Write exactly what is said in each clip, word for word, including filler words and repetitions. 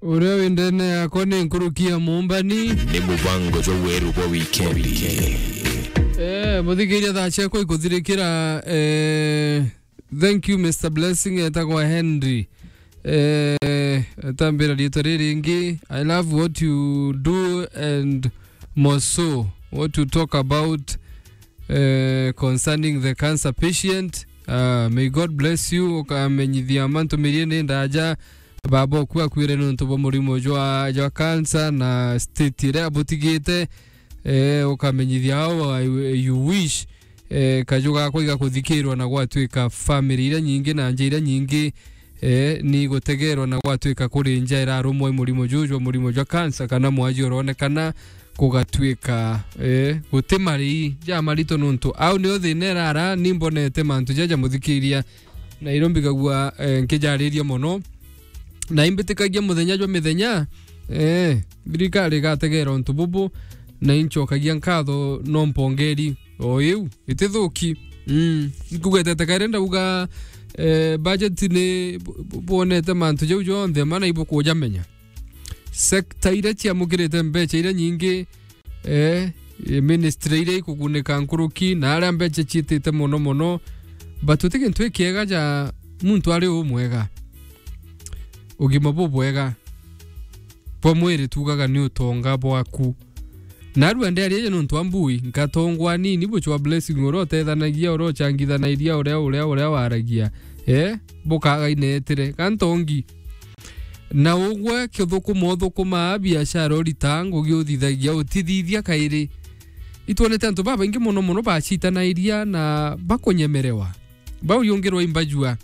Uria wi ndene yakwa ni nkuruki ya muumbani. Ni mubango jwa weru bwa wikendi. Eh, muthikiria, thaa ciakwa ikuthirikira, eh, thank you, Mister Blessing, etagwa Henry. Eh, atambira riitwa riri ringi. I love what you do and more so what you talk about, eh, concerning the cancer patient. Ah, may God bless you. Ukamenyithia mantu mirie ni ndaja. Baba oku akuire nontu bwa murimo jwa, jwa cancer na state iria abutigite. Eh, ukamenyithia how I, you wish, eh, kaju gakwa igakuthikirwa na gwatuika family iria nyingi na nja iria nyingi, eh, ni gutegerwa na gwatuika kuri nja irarumwa i murimo juju jwa murimo jwa cancer kana mwaji uronekana kugatuika, eh, guti marii ja marito nontu au nio thina irara ni mbonete mantu jaja muthikiria na iro mbigagua, eh, nkijariria mono. Na imbitikagia muthenya jwa mithenya, eh, thirikari igategera untu bubu, na inchokagia nkatho no mpongeri o iu itithuki. Mm, nkugwetete kairi ndauga, eh, budget ni bu-, bu-, bwonete mantu jau jonthe mana ibukujamenya. Sekta iria ciamukirite mbeca iria nyingi, eh, ministry iria ikugunika nkuruki na aria mbeca ciitite mono mono, but uti gintu ikiega ja muntu ari umwega, ugima bubwega bwa mwiri tugaga ni utonga bwaku. Narua ndiaria ja nontu wa mbui, nkatongwa nini buchwa Blessing uria utethanagia, uria uchangithanairia, uria, uria, uria waragia. Eh, bukaga inetire, kantongi. Na ugwe kithukuma uthukumaa biashara urita ngugi uthithagia utithithia kairi. Itwonete antu babaingi mono mono bacitanairia na bakunyemerewa. Bauriungirwa imbajua.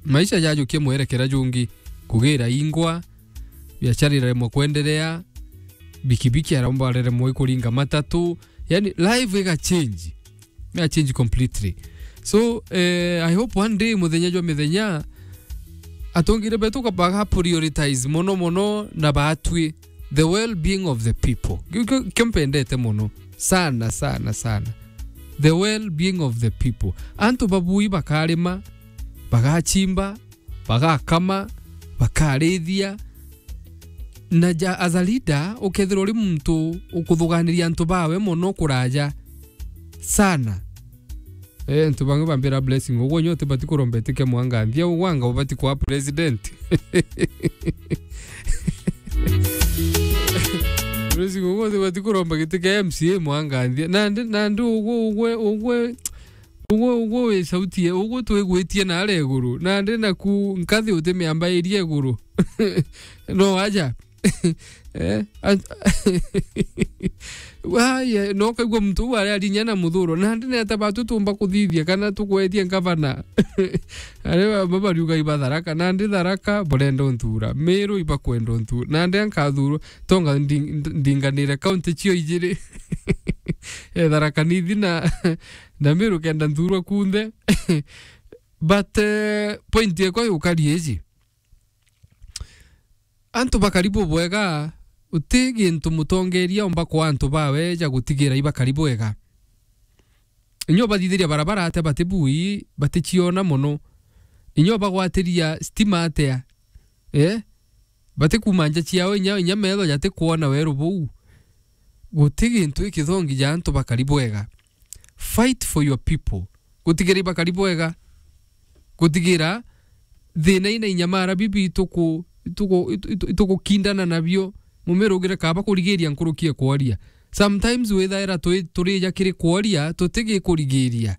Maisha jajukie mwerekera jungi, kugira ingwa, biashara iraremwa kwenderea, bikibiki aromba araremwa ikuringa matatu, yani life iga change. Iga change completely. So, eh, I hope one day, muthenya jwa mithenya, atongire betu ka-, baga prioritize mono mono na batwi the well-being of the people. Kio, kio, kio mpendete mono. Sana, sana, sana. The well-being of the people. Antu babui bakarima, bagachimba, bagakama, bakarithia. Na ja, as a leader, ukethirwa uri muntu ukuthuganiria antu bawe mono kuraja sana. Eh, antu bangi bambira Blessing, ugwe nyote bati kuromba giti kia Mwanganthia, ugwe anga ubati kwa president. Blessing, ugwe bati kuromba giti kia M C A Mwanganthia. Nandi, nandi ugwe, ugwe, ugwe, Ugwe, ugwe wi sauti ye, ugwe twigwitie naria iguru. Nandi naku nkathi utimiambairie iguru. No aja. Eh, an-, waya, no kaigua muntu uu aria arinya na muthuro. Nandi neta batu tumba kuthithia kana tukwetie ngavana. Ari ba-, babariuga ibatharaka. Nandi Tharaka, burenda unthura. Miru ibakwenda unthura. Nandi ankathurwa. Tonga ndi-, ndi-, ndinganire kaunti cio ijiri. Eh, Tharaka Nithi na, na Miru kenda nthurwa kunthe. But, eh, point yakwa yukari iji. Antu bakari bubwega, uti gintu mutongeria omba kwa antu bawe ja gutigira ibakari bwega. Inya ubathithiria barabara atia batibui, baticiona mono. Inya ubagwatiria stima atia, eh? Batikuuma nja ciao, inya, inya metho jatikwona weru buu. Guti gintu gikithongi ja antu bakari bwega. Fight for your people. Gutigira ibakari bwega. Gutigira thina ina inyamara bibi ituku-, ituku-, itu-, itu-, itukukindana nabio. Mumirugire kaba kurigiria nkuruki e kworia. Sometimes withaira twi-, turija kiri kworia, tutigikurigiria.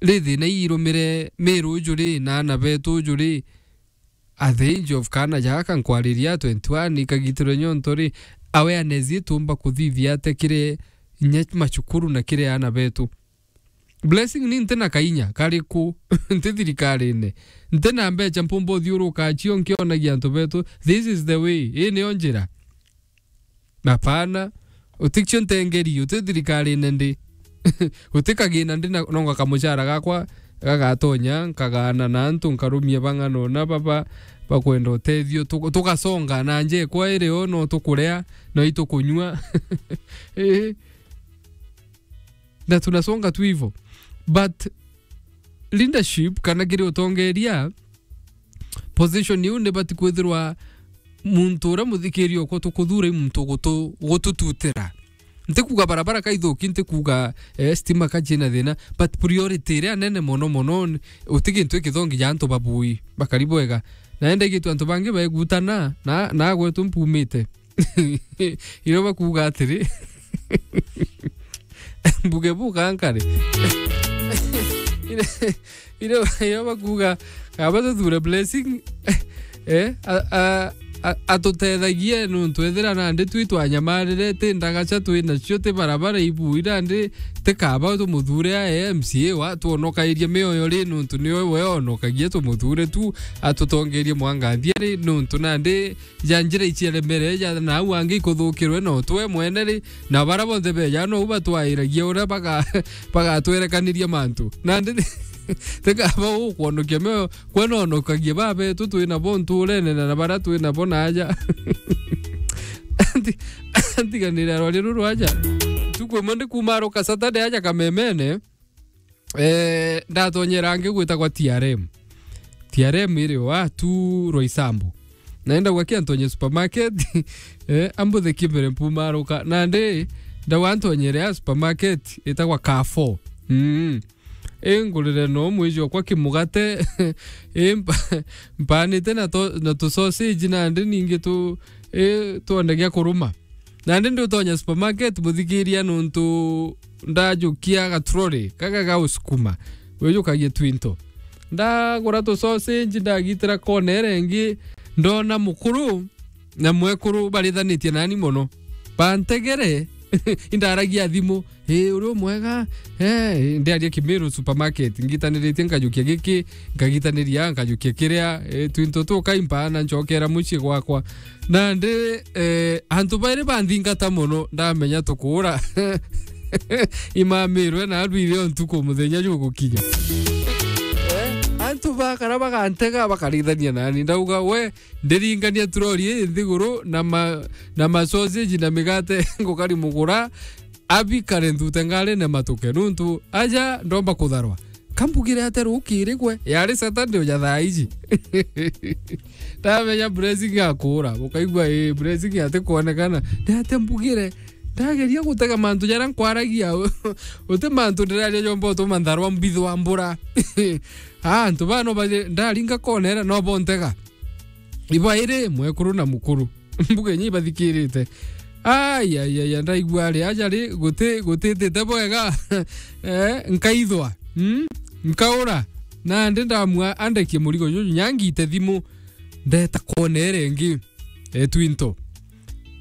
Ri thina ii irumire Miru uju ri, na aana betu uju ri, at the age of kaana jaka nkwariria twenty-one, ikagitirwe nyonto ri, awareness itumba kuthithia atia kiri inya macukuru na kiri aana betu? Blessing, ni nti na kainya kariku, nti thirikarine, nti na mbecha mpumba uthiuruka cio nkionagia antu betu. This is the way. Ii niyo njira. Hapana. Utikio ntengeri, uti thirikarine ndi. Uti kagina ndi na, nonga kamuchara gakwa gagatonya, nkagana na antu, nkarumia bang'ana ona baba bakwenda utethio. Tu-, tugasonga na nja ikwa iri o, no tukuria, no itukunyua. Ii. Na tunasonga tu hivo. But leadership, kana kiri utongeria, position iu nibati kwithirwa muntu uria muthikiria okwa tukuthuura i muntu gutu-, gutututira. Ntikuuga barabara kaithuki, ntikuuga, eh, stima ka ciina thina, but priority iria nene mono mono ni uti gintu ikithongi ja antu babui bakari bwega. Na enda igitwe antu bangi baigutana, na, na gwetu mpumite. Irio bakuuga atiri, mbuge buka nkare. Irio, irio, irio bakuuga, kaba tuthure Blessing, eh, a, a, a, atutethagie nuntu ethira nandi twi twanyamarire, ti ndagaca twi nacio, ti barabara ibui, nandi ti kaba tumuthure a M C A wa, twonokairie mioyo ri, nuntu niwe we onokagia, tumuthure tu, atutongerie mwanganthia ri, nuntu nandi ja njira iciaremere, ja nau angi ikuthukirwe no twe mwene ri, na bara bonthe beja nou batwairagia uria baga-, bagatwerekaniria mantu. Nandi ti kaba ukwonokia mioyo, kwe nonokagia babetu twi nabo nturene na bara twi nabo na aja. Anti-, antiganire rwari ruru aja. Ntuku imwe ndi kuuma aruka Saturday aja Kamemene. Eh, ndatonyera angi gwitagwa T R M. T R M iri wa tu Roysambu. Naenda gwakia ntonye supermarket, eh, ambuthe kimbere mpumaruka. Nandi, ndawa ntonyere ya supermarket, itagwa Carrefour. Mm. Ingurire no mwiji okwa kimugate, i mpa-, mpanite na to-, na tu sausage nandi ningi tu, i twonde gia kuruma. Nandi ndi utonya supermarket, muthikiria, nuntu ndajukia gatroli, gaga ga usukuma, wijukagia twinto. Ndagura tu sausage, ndagitira kona iria ingi, ndona mukuru na mwekuru barithanitie nani mono. Bantegere, indaragia thimu, "Ii, uri umwega?" Eh, ndiaria Kimiru supermarket, ngitaniritie nkajukia giki, nkagitaniria, nkajukia kiria, eh, twinto tukaimpa na ncokera mucii gwakwa. Nandi, eh, antu bairi banthingata mono, ndamenya tukuura. Imamirwe na arwire o ntuku muthenya jugukinya. Eh, antu bakara bagantega, bakarithania nani. Ndauga, "We, ndiringania troli ii nthiguru na ma-, na ma sausage na migate ngukari mugura, abikare nthute ngarine matuke, nuntu aja ndomba kutharwa." Kambugire ate rukiri gwe? Yari Saturday uja thaa iji. Ndamenya Blessing akuura. Ukaigua, ii, Blessing atikwonekana. Ni ate mbugire? Ndageria gutega mantu jaria nkwaragia. Uti mantu ndiraria jomba utuma ntharwa mbithwa mbura. Ah, antu bano baje, ndaringa kona iria no bontega. Ibairi, mwekuru na mukuru. Mbuge nyi ibathikirite. Ai, ai, ai, ai, ndaigua ari aja ri, guti-, gutitite bwega. Eh, nkaithwa. Mm? Nkaura. Nandi ndamua andekie murigo juju, nyangite thimu. Ndeta kona iria ingi. Eh, twinto.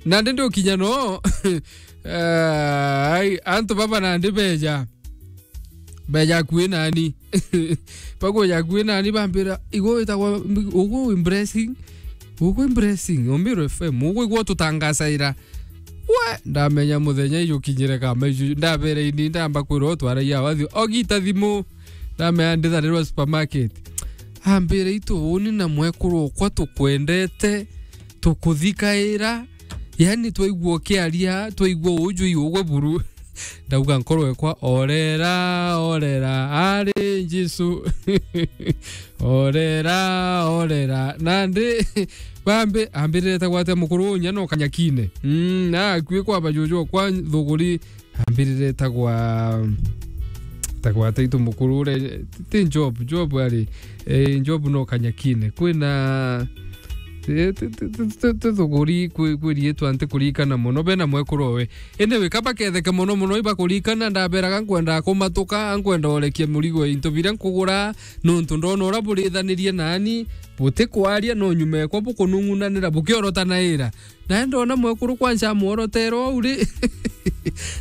Nandi ndukinya no. Eh, ai, antu baba nandi beja. Beja akui nani. Bakuja akui nani bambira, "Igwe witagwa, ugwe wi Blessing? Ugwe wi Blessing, Ombiro F M, ugwe igwe ututangacaira." We, ndamenya muthenya ijukinyire kama iju, ndabere ini, ndamba kwirwa utwaragia wathi, ogita thimu. Ndamenya nditharirwa supermarket. Ambire, "Itu, uni na mwekuru okwa tukwendete, tukuthikaira." Yani, twaigua ukiaria, twaigua uju i ugwe buru. Ndauga nkoro ekwa, "Orera, orera, ari Jesu." Orera, orera. Nandi, bambi, ambirire ta gwate mukuru unya no kanyakine. Mm, na akui kwa bajuju kwa thuguri, ambirire ta gwa, ta gwate itu mukuru ure, ti Job, Job ari, eh, Job no kanyakine. Kwina, eh, ti, ti, ti, ti, ti thuguri kwi-, kwiriitwa nti kurikana mono, bena mwekuru owe. Indi wika baketheke mono mono, ibakurikana, ndaberaga nkwenda kumatuka, nkwenda urekia murigo, into biria nkugura, nuntu ndona uria burithanirie nani, butikwaria, no nyuma ekwa bukunung'unanira, bukiorotanaira. Nae ndona mwekuru kwanca amworotera uu ri,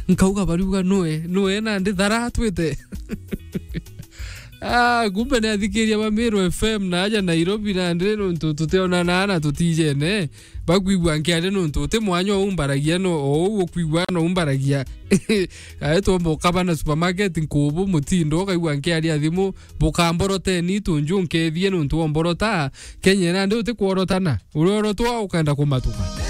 nkauga bariuga nue, nue nandi thara atwite. Ah, kumbe ni athikiria ba Meru F M na aja Nairobi nandi nuntu tutionanaa na tutijene. Bakwigua nkiaria nuntu uti mwanya o umbaragia no, o uu ukwigua no umbaragia. Ae twomba ukaba na supermarket nkubu mutindo, ukaigua nkiaria thimu, bukamboroteni tunju nkethie nuntu womborota, Kenya nandi uti kworotana. Uria urotwa ukenda kumatuka.